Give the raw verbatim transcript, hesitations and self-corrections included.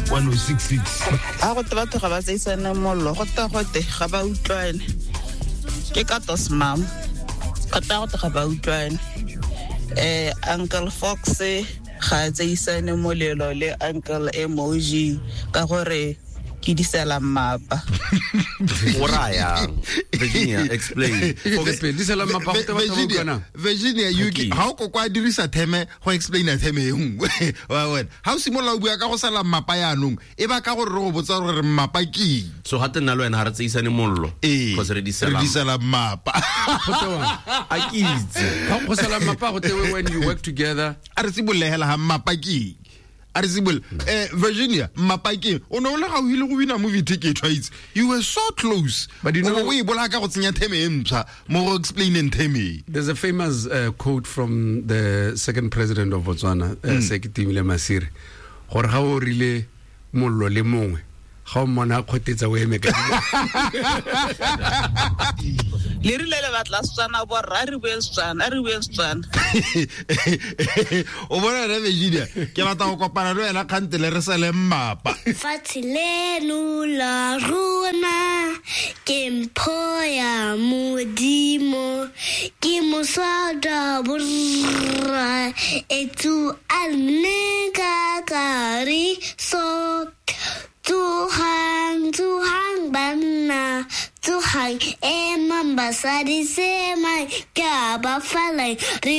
one oh six six. A go te batho ga ba tseisane mollo, go te gote ga ba utlwane. Ke ka tos mam. Go te gote ga ba utlwane. Eh Uncle Fox ga tseisane molelo le Uncle Emoji ka gore ke disela mmapa. O raya Virginia, explain. Disela mmapa go te batho ba utlwana. Virginia, you ga o ko kwa dirisa theme go explain theme e nngwe. Wa wena ha o simolola o bua ka go sala mmapa yaanong e ba ka gore re go botsa gore mmapa ke eng. So ga tena le wena ha re tseisane mollo because re disela re disela mmapa. Go tewa a ke itse go sala mmapa go tewe when you work together. A re sibolehela ha mmapa ke eng. A re sibole eh Virginia mmapa ke o no le ga o ile go wina movie ticket twice. You were so close, but you know o e bola ka go tsenya theme e mpsha mo go explaining theme. There's a famous uh, quote from the second president of Botswana, uh, mm. Sekitimile Masire, gore ga o rile mollo le mongwe ga o mmona a kgotetsa o eme ka le rile le batla Setswana borra re bue Setswana re bue Setswana. O bona re Virginia ke batla go kopana le wena kgantele re sele mmapa. Fatshe leno la rona ke mpho ya Modimo ke mosada borra etsu a nne ka kariso. Tsogang, tsogang banna, tsogang emang basadi semang ke a ba falai re